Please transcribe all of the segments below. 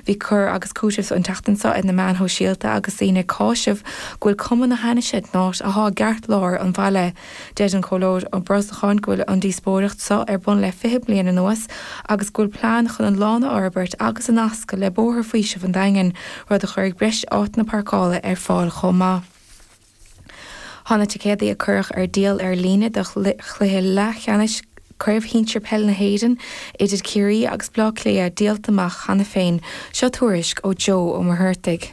Bhí cur agus cúiteamh an tseachtain seo ar na meáin shóisialta agus daoine ag cáiseamh go bhfuil cuma na hainnise den áit athá i gceartlár an bhaile. Deir an Comhairleoir Ó Brosnacháin go bhfuil an díospóireacht seo ar bun le 20 bliain anuas agus go bhfuil plean chun an lána a fhorbairt agus a nascadh le Bóthar Faoisimh an Daingin, rud a chuirfidh breis áiteanna páirceála ar fáil chomh maith. Tá na ticéadaí a cuireadh ar díol ar líne do chluiche leathcheannais Craobh Shinsir Peile na hÉireann idir Ciarraí agus Bleá Cliath díolta amach cheana féin. Seo tuairisc ó Joe Ó Muircheartaigh.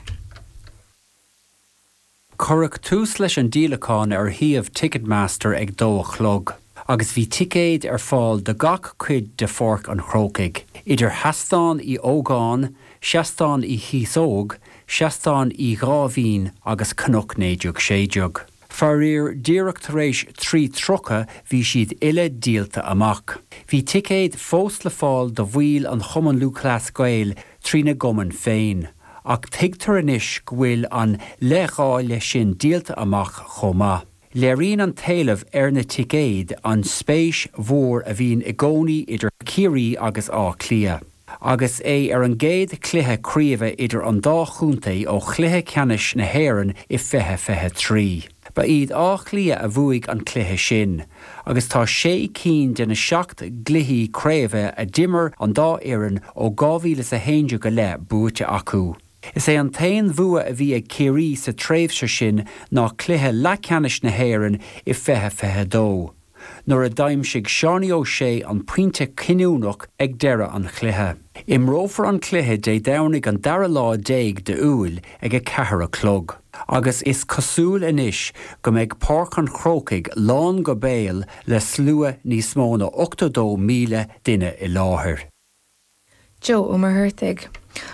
Cuireadh tús leis an díolachán ar shuíomh Ticketmaster ag dó a chlog agus bhí ticéid ar fáil do gach cuid de Pháirc an Chrócaigh, idir Sheastán Uí Ógáin, Seastán Uí Chíosóg, Seastán Uí Dháimhín agus Cnoc 1916. Faraor, díreach tar éis 3:30 bhí siad uile díolta amach. Bhí ticéid fós le fáil do bhaill an Chumann Lúthchleas Gael trína gcumann féin. Ach tuigtear anois go bhfuil an leithdháileadh sin díolta amach chomh maith. Léiríonn an t-éileamh ar na ticéid an spéis mhór a bhíonn i gcónaí idir Ciarraí agus Áth Cliath, agus é ar an gcéad chluiche craoibhe idir an dá chontae ó chluiche ceannais na hÉireann i 2023. Ba iad Áth Cliath a bhuaigh an cluiche sin, agus tá sé cinn de na seacht gcluichí craoibhe a d'imir an dá fhoireann ó 2011 i leith buaite acu. Is é an t-aon bhua a bhí ag Ciarraí sa tréimhse sin ná cluiche leathcheannais na hÉireann i 2022, nuair a d'aimsigh Seánie O'Shea an pointe cinniúnach ag deireadh an chluiche. Imreofar an cluiche Dé Domhnaigh an dara lá déag d'Iúil ag 4 a chlog agus is cosúil anois go mbeidh Páirc an Chrócaigh lán go béal le slua níos mó ná 82,000 duine i láthair. Joe Ó Muircheartaigh.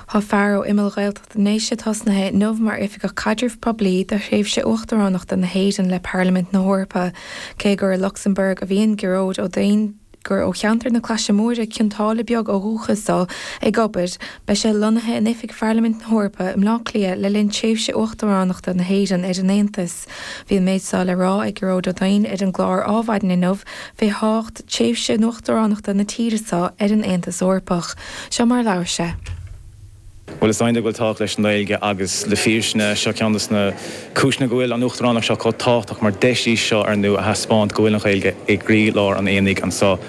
Tá fear ó imeall Ghaeltacht na nDéise tosnaithe inniu mar Oifigeach Caidrimh Poiblí do thréimhse Uachtaránachta na hÉireann le Parlaimint na hEorpa. Cé gur i Lucsamburg a bhíonn Gearóid Ó Duinn, gur ó cheantar na Claise Móire, Cionn tSáile Beag ó dhúchas dó, ag obair, beidh sé lonnaithe in oifig Pharlaimint na hEorpa i mBleá Cliath le linn tréimhse Uachtaránachta na hÉireann ar an Aontas. Bhí an méid seo le rá ag Gearóid Ó Duinn ar an gclár Ádhmhaidin inniu fé thábhacht tréimhse uachtaránachta na tíre seo ar an Aontas Eorpach. Seo mar a labhair sé. Bhuel, is iontach go bhfuil tábhacht leis an nGaeilge agus le fírinne, seo ceann de na cúiseanna go bhfuil an Uachtaránacht seo chomh tábhachtach mar deis í seo, ar ndú, a thaispeáint go bhfuil an Ghaeilge i gcroílár an aonaigh anseo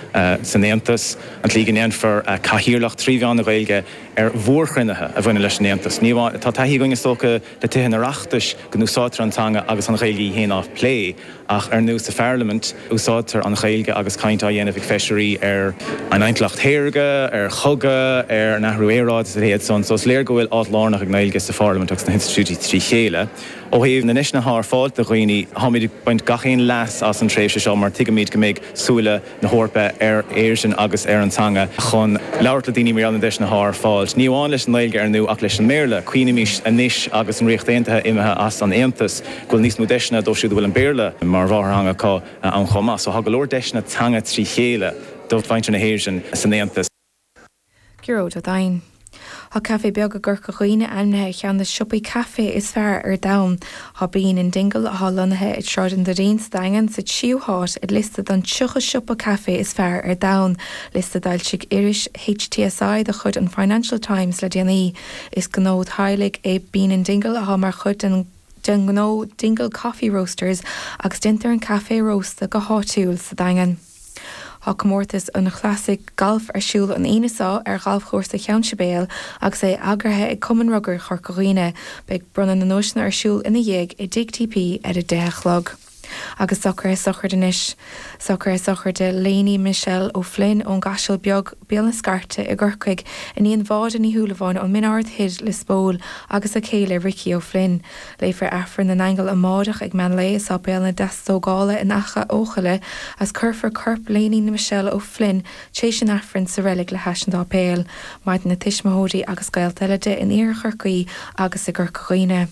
san Aontas. An tslí go ndéanfar cathaoirleacht trí mheán na Gaeilge ar mhórchruinnithe a bhaineann leis an Aontas. Ní amháin, tá taithí againn is dócha le Tithe an Oireachtais go n-úsáidtear an teanga agus an Ghaeilge í féin á plé. Ach ar ndú sa Pharlaimint, úsáidtear an Ghaeilge agus caint á dhéanamh ag feisirí ar an intleacht shaorga, ar chogadh, ar an athrú aeráide is a leithéid san. So is léir go bhfuil áit lárnach ag an nGaeilge sa Pharlaimint agus sna hinstitiúidí trí chéile. Ó thaobh na ndeiseanna atá ar fáil do dhaoine, táimid ag baint gach aon leas as an tréimhse seo mar tuigimid go mbeidh súile na hEorpa ar Éirinn agus ar an teanga chun labhairt le daoine mar gheall ar na deiseanna atá ar fáil, ní amháin leis an nGaeilge ar ndú ach leis an mBéarla. Cuimhnímis anois agus an Ríocht Aontaithe imithe as an Aontas go bhfuil níos mó deiseanna dóibh siúd a bhfuil an Béarla mar mháthairtheanga acu ann chomh maith. So tá go leor deiseanna teanga trí chéile do mhuintir na hÉireann san Aontas. Gearóid Ó Duinn. Tá caife beag i gCorca Dhuibhne ainmnithe ar cheann de siopaí caife is fearr ar domhan. Tá Bean in Dingle, atá lonnaithe i Sráid an Doirín sa Daingean, sa tríú háit ar liosta den 30 siopa caife is fearr ar domhan, liosta a d'fhoilsigh iris HTSI de chuid an Financial Times le déanaí. Is gnó teaghlaigh é Bean in Dingle atá mar chuid den den ngnó Dingle Coffee Roasters agus déantar an caife a róstadh go háitiúil sa Daingean. Tá Comórtas an Chlasaigh Gailf ar siúl an Aoine seo ar Ghalfchúrsa Cheann Sibéal agus é eagraithe ag Cumann Rugair Chorca Dhuibhne. Beidh bronnadh na nduaiseanna ar siúl ina dhiaidh i dTigh TP ar a 10 a chlog. Agus socruithe sochraide anois. Socruithe sochraide Léiní Michelle O'Flynn ón gCaiseal Beag, Béal na Scairte i gCorcaigh, iníon Mháire Ní Shúilleabháin ón Min Ard Thoir, Lios Póil, agus a céile Ricky O'Flynn. Léifear Aifreann na nAingeal amáireach ag meán lae i Sáipéal na Deastógála in Achadh Eochaille agus cuirfear corp Léiní Michelle O'Flynn tréis an Aifrinn sa reilig le hais an tsáipéil. Maireann a tuismitheoirí agus gaolta eile di in Iarthar Chorcaí agus i gCorca Dhuibhne.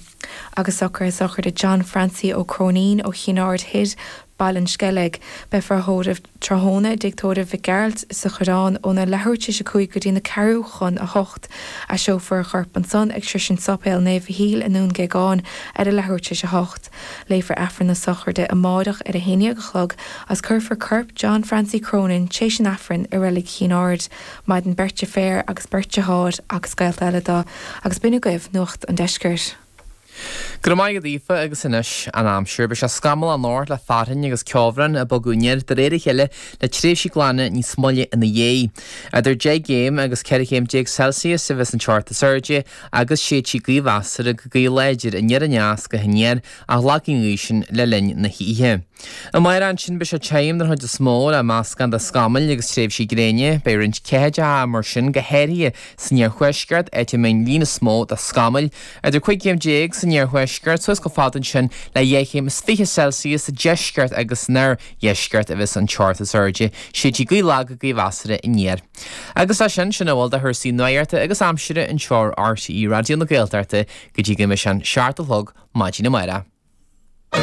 Agus socruithe sochraide John Francie Ó Cróinín ó Chinn Aird Thoir. Baile an Sceilg. Beifear á thórramh tráthnóna i dTigh Tórraimh Mhic Gearailt sa Choireán óna leathuair tar éis a 5 go dtí na ceathrú chun a hocht. Eiseofar a chorp ansan ag sroisint Sáipéal Naomh Mhichíl i nDún Géagáin ar a leathuair tar éis a hocht. Léifear Aifreann na sochraide amáireach ar a haon dhéag a chlog agus cuirfear corp John Francie Cronin tar éis an Aifrinn i Reilig Chinn Aird. Maireann beirt deirféar agus beirt deartháir agus gaolta eile dó agus b'in agaibh Nuacht an Deiscirt. Go raibh maith agat Aoife agus anois an aimsir. Beidh sé scamallach anocht le fearthainn agus ceobhrán ag bogadh aniar de réir a chéile le tréimhsí glana níos moille ina dhiaidh. Idir 10 gcéim agus 14 chéim Celsius a bheas an teocht is airde agus séidfidh gaoth mheasartha go gaoth láidir aniar aneas go haniar ach lagfaidh an ghaoth sin le linn na hoíche. Amárach ansin beidh sé tirim den chuid is mó le meascán de scamaill agus tréimhsí gréine. Beidh roinnt ceathaideacha mar sin go háirithe san iarthuaisceart, áit a mbeidh an líon is mó de scamaill, idir 15 chéim san iarthuaisceart suas chomh fada ansin le 22 chéim Celsius sa deisceart agus san oirdheisceart a bheas an teocht is airde. Séidfidh gaoth lag go gaoth mheasartha aniar. Agus leis sin, sin a bhfuil de chúrsaí nuachta agus aimsire anseo ar RTÉ Raidió na Gaeltachta go dtí go mbeidh sé an 7 a chlog maidin amárach.